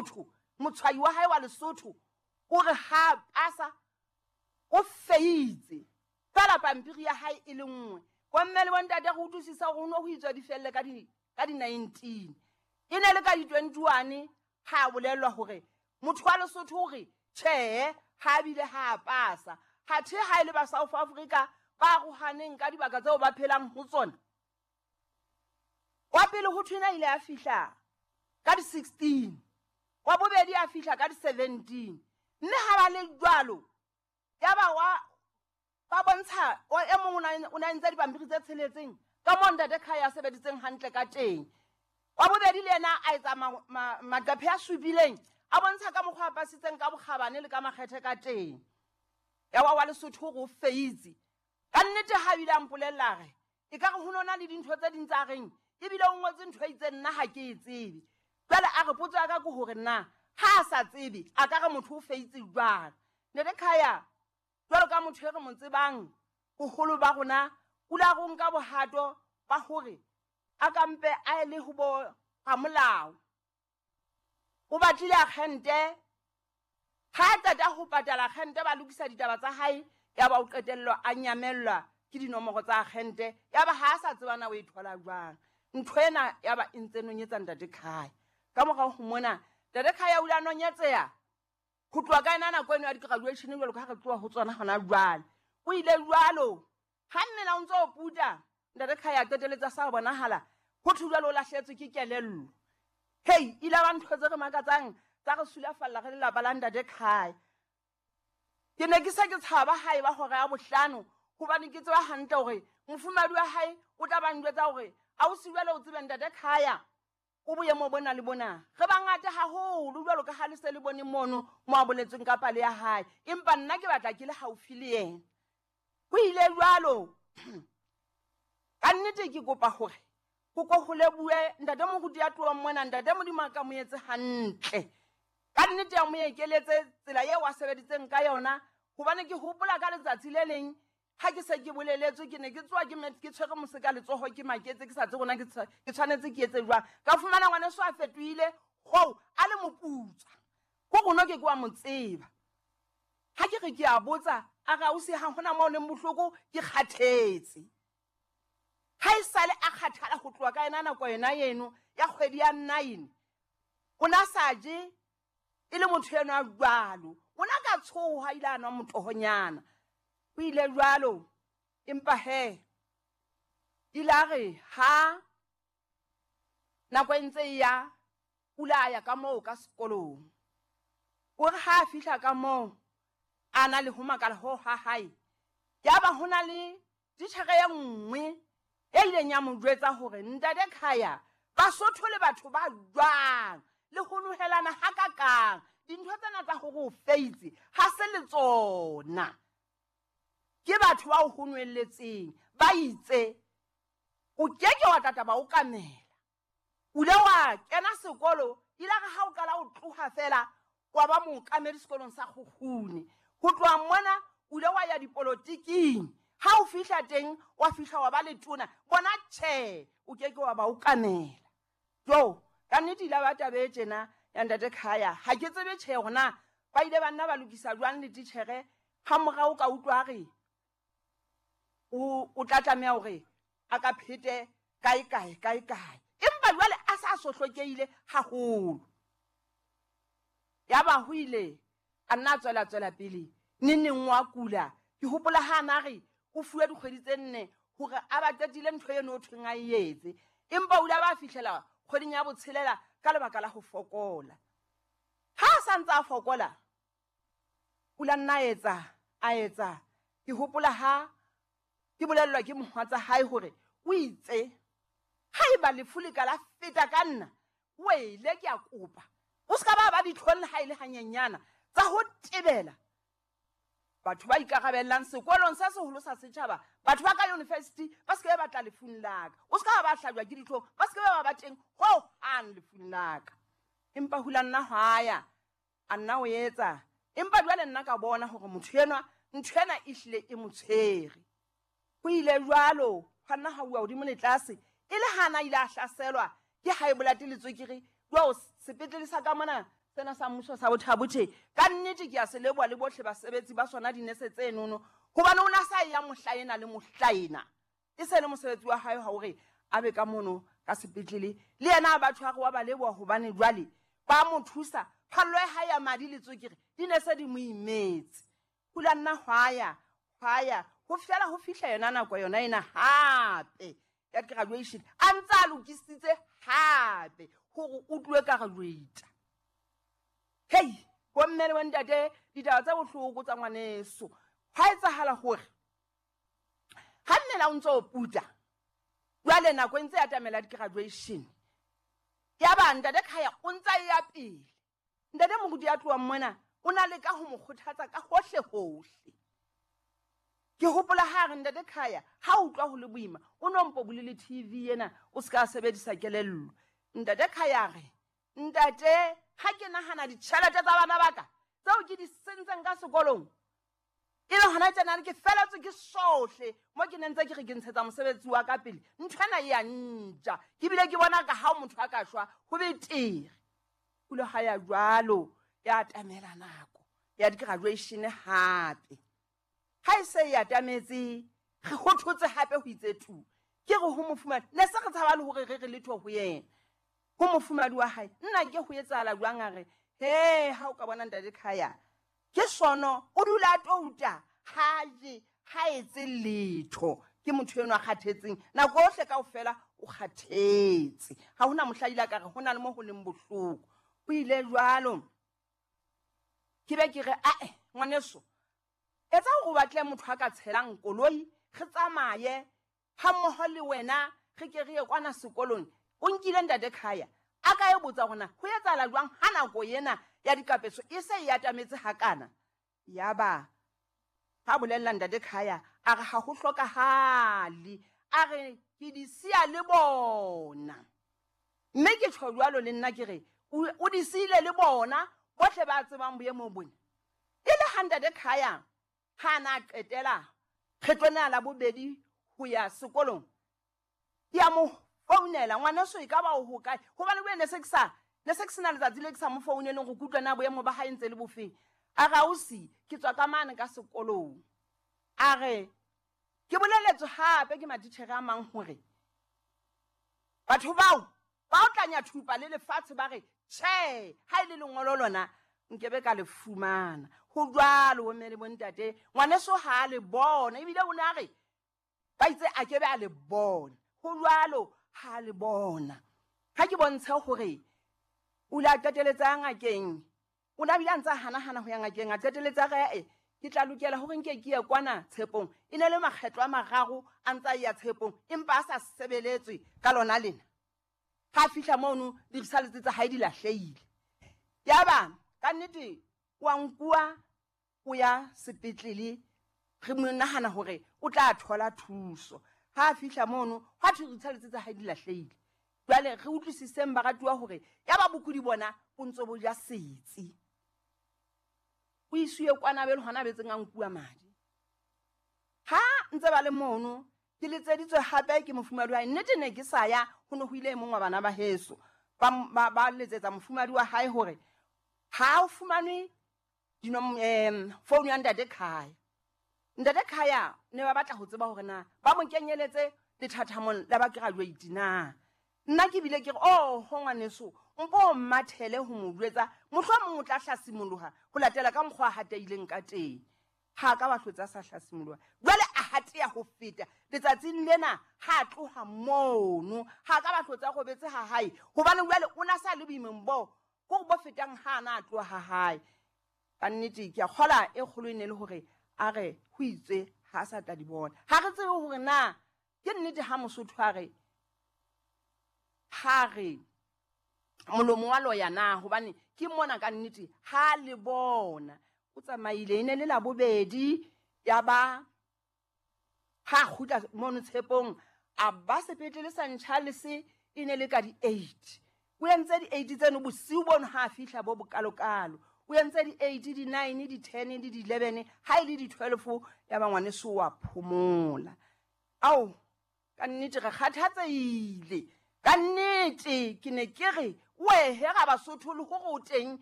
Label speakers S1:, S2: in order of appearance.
S1: Lesotho, motshwayi wa hae wa Lesotho o re ha pasa o feitse fela pampiri ya hae e le nngwe. Bomme le bontate re utlwisisa hore ho no ho itswa di felle ka di ka di-19, e ne le ka di-21 ha a bolellwa hore motho wa Lesotho o re tjhehe ha bile ha a pasa. Hathe ha e le ba South Africa ba arohaneng ka dibaka tseo ba phelang ho tsona, wa pele ho thwena ile a fihla ka di-16, wa bobedi a fihla ka di-17, mme ha ba le jwalo ya ba wa ba bontsha e mong o na entse dipampiri tse tsheletseng ka moo ntate Khaya a sebeditseng hantle ka teng. Wa bobedi le yena a etsa maqephe a supileng a bontsha ka mokgwa a pasitseng ka bokgabane le ka makgethe ka teng. Ya wa wa Lesotho o feitse ka nnete. Ha bile a mpolella re e ka re ho nona le dintho tse ding tsa reng ebile o ngotse ntho e itseng, nna ha ke e tsebe. Jwale a re potso ya ka ke hore na ha a sa tsebe a ka re motho o feitse jwang. Ntate Khaya jwalo ka motho e re mo tsebang boholo ba rona, o la ro nka bohato ba hore a kampe a le ho bo ramolao, o batlile akgente. Ha a qeta ho patala akgente, ba lokisa ditaba tsa hae, ya ba o qetellwa a nyamellwa ke dinomoro tsa akgente, ya ba ha a sa tseba na o e thola jwang. Ntho ena ya ba e ntse nonyetsa ntate Khaya. Ka morao ho mona ntate Khaya o ile a nonyetseha ho tloha ka ena nako eno ya di-graduation, jwalo ka ha re tloha ho tsona hona jwale. O ile jwalo ha mmela o ntse o puta, ntate Khaya a qeteletsa sa bonahala ho thwe jwale o lahlehetswe ke kelello. Hei, ile ba ntho tse re makatsang tsa re sulafalla re lelapa la ntate Khaya. Ke ne ke se ke tshaba hae ba hora ya bohlano, hobane ke tseba hantle hore mofumadi wa hae o tla ba njwetsa hore ausi jwale o tsebe ntate Khaya o boemo bona le bona. Re bangata haholo jwalo ka ha le se le bone mono mo a boletsweng ka pale ya hae, empa nna ke batla ke le haufi le yena. Ho ile jwalo ka nnete. Ke kopa hore ho ko ho lebohe ntate moruti ya tlohang mona. Ntate Modimo a ka mo etse hantle ka nnete, ya mo ekeletse tsela eo a sebeditseng ka yona, hobane ke hopola ka letsatsi le leng ha ke se ke boleletswe, ke ne ke tsoa ke tshwere mose ka letsoho, ke maketse, ke sa tsebe rona ke tshwanetse ke etse jwang. Ka fumana ngwaneso a fetohile hoo a le moputswa ko rona, ke ke wa mo tseba. Ha ke re ke a botsa, a re ausi ha hona moo leng bohloko, ke kgathetse. Ha e sale a kgathala ho tloha ka yena nako yona eno ya kgwedi ya 9, o na sa je, e le motho eno a jwalo, o na ka tshoha ile a nwa motohonyana. O ile jwalo, empa he ile a re ha nako e ntse e ya o ile a ya ka moo ka sekolong. O re ha a fihla ka moo a na le ho makala ho ha hae, ya ba ho na le titjhere e nngwe e ileng ya mo jwetsa hore ntate Khaya, Basotho le batho ba jwang le ho nohelana hakakang, dintho tsena tsa hore o feitse ha se le tsona, ke batho ba o ho nwelletseng ba itse o keke wa tata ba o kamela. O ile wa kena sekolo, ile re ha o qala o tloha fela wa ba mookamedi sekolong sa Kgukgune. Ho tloha mona o ile wa ya dipolotiking, ha o fihla teng wa fihla wa ba letona. Bona tjhe, o keke wa ba o kamela. Jo, ka nnete ile ba taba e tjena ya ntate Khaya, ha ke tsebe tjhe hona ba ile ba nna ba lokisa jwang le titjhere. Ha morao ka utlwa re o tla tlameha hore a ka phete kae kae kae kae, empa jwale a sa sohlokehile haholo. Ya ba ho ile a nna a tswela tswela pele neng neng wa kula. Ke hopola ha na re o fuwe dikgwedi tse 4 hore a ba qetile ntho eno o thweng a e etse, empa o ile a ba fihlela kgweding ya botshelela ka lebaka la ho fokola. Ha a sa ntse a fokola o la nna a etsa. Ke hopola ha ke bolellwa ke mohwatsa hae hore o itse haeba lefu le ka la feta ka nna wele, ke a kopa o se ka ba ba ditlhong le ha e le hanyenyana tsa ho tebela batho ba ikarabellang sekolong se seholo sa setjhaba, batho ba ka university ba se ke ba tla lefung la ka, o se ka ba hlajwa ke ditlhong, ba se ke ba ba teng ho hang lefung la ka. Empa hula nna hwa ya a nna o etsa, empa jwale nna ka bona hore motho enwa ntho ena e hlile e mo tshwere. Ho ile jwalo hwa nna ha uwa hodimo le tlase, e le hana ile a hlaselwa ke high blood le tswekere. Jwao sepetlele sa ka mona Sena sa mmuso sa Botha-Bothe, ka nnete ke a se leboha le bohle basebetsi ba sona dinese tse nono, hobane o na sa ya mohla ena le mohla ena. E se le mosebetsi wa hae ha hore a be ka mono ka sepetlele le yena a batho a re wa ba leboha hobane jwale ba mo thusa. Phallo ya hae ya madi le tswekere di ne se di mo imetse. Hula nna hwaya hwaya ho fihlela ho fihla yona nako yona ena hape ya graduation, a ntse a lokisitse hape hore o tloe graduate. Hei, bomme le bontate, ditaba tse bohloko tsa ngwaneso. Hwa etsahala hore ha mmele o ntse o puta, jwale nako e ntse ya atamela di-graduation, ya ba ntate Khaya o ntse a ya pele. Ntate moruti ya tlohang mona o na leka ho mo kgothatsa ka hohle hohle. Ke hopola ha re ntate Khaya ha utlwa ho le boima, o no mpo bule le TV ena o se ka sebedisa kelello. Ntate Khaya re, ntate ha ke nahana ditjhelete tsa bana ba ka tseo ke di sentseng ka sekolong, e le hona tjena ke feletswe ke sohle mo ke ne ntse ke re ke ntshetsa mosebetsi wa ka pele, ntho ena e ya ntja. Ke bile ke bona ka ha motho a ka shwa ho betere. O ile ha ya jwalo, ya atamela nako ya di-graduation hape. Ha e se e atametse, re kgothotse hape ho itse tu. Ke re ho mofumadi, ne se re tshaba le hore re re letho ho yena. Ho mofumadi wa hae, nna ke ho etsahala jwang? A re, he, ha o ka bona ntate Khaya, ke sono, o dula a touta, ha je, ha etse letho. Ke motho enwa a kgathetseng, nako yohle kaofela o kgathetse. Ha hona mohla ile a ka re ho na le mo ho leng bohloko. O ile jwalo. Ke be ke re, ae, ngwaneso, etsa hore o batle motho a ka tshelang koloi, re tsamaye ha mmoho le wena, re ke re ye kwana sekolong. O nkile ntate Khaya, a ka e botsa hore na ho etsahala jwang ha nako ena ya dikapeso e se e atametse hakana. Yaba ha bolella ntate Khaya, a re ha ho hlokahale, a re ke di siya le bona. Mme ke tjho jwalo le nna ke re o di siile le bona bohle ba tsebang boemo bona. E le ha ntate Khaya ha na qetela kgetlo lena la bobedi ho ya sekolong, ke a mo founela, ngwaneso e ka ba o hokae? Hobane bo ne se ke sa ne se ke sena letsatsi le ke sa mo founeleng go kutlwa na boemo ba hae ntse le bofeng. A re ausi, ke tswa ka mane ka sekolong. A re ke boleletswe hape ke matitjhere a mang hore batho bao ba o tlanya thupa le lefatshe ba re tjhe, ha e le lengolo lona nkebe ka le fumana. Ho jwalo bomme le bontate, ngwaneso ha a le bona, ebile o ne a re ba itse a kebe a le bona. Ho jwalo ha a le bona. Ha ke bontshe hore o ile a qeteletse ngakeng, o ne a bile a ntse a hanahana ho ya ngakeng, a qeteletse a re, ke tla lokela hore nke ke ye kwana Tshepong. E ne le makgetlo a mararo a ntse a ya Tshepong, empa a sa sebeletswe ka lona lena. Ha fihla mono di-results tsa hae di lahlehile. Yaba ka nnete wa nkuwa o ya sepetlele, re mo nahana hore o tla thola thuso. Ha fihla mono hwa thwe di-results tsa hae di lahlehile. Jwale re utlwisiseng baratuwa hore yaba bokudi bona bo ntso bo ja setsi. O isuwe kwana be le hona betseng a nkuwa madi. Ha ntse ba le mono, ke letseditswe hape ke mofumadi wa hae. Nnete ne ke sa ya, ho ne ho ile e mong wa bana ba heso. Ba letsetsa mofumadi wa hae hore ha o fumanwe phone ya ntate Khaya. Ntate Khaya ne ba batla ho tseba hore na ba mo kenyeletse lethathamong la ba graduate na. Nna ke bile ke re, oh, ho ngwaneso, mpo o mmathele ho mo jwetsa, mohlomong o tla hlasimoloha ho latela ka mokgwa a hateileng ka teng. Ha ka ba hlotse a sa hlasimoloha. Jwale a hateya ho feta letsatsing lena ha tloha mono, ha ka ba hlotse a robetse ha hae, hobane jwale o na sa le boimeng bo ko bo fetang ha na tloha ha hae. Ka nnete ke a kgola e kgolo e ne le hore a re ho itswe ha sa tla di bona. Ha re tsebe hore na ke nnete ha Mosotho a re ha re molomo wa loya na, hobane ke mona ka nnete ha le bona o tsamaile. E ne le labobedi, ya ba ha kgutla mono Tshepong, a ba sepetlele sa Charles e ne le ka di-8. O entse di-8 tseno bosiu bono ha fihla bo bokalokalo. O entse di-8, di-9, di-10 le di-11, ha e le di-12 ya ba ngwaneso wa phomola. Ao, ka nnete re kgathatsehile. Ka nnete ke ne ke re wehe ga Basotho le hore o teng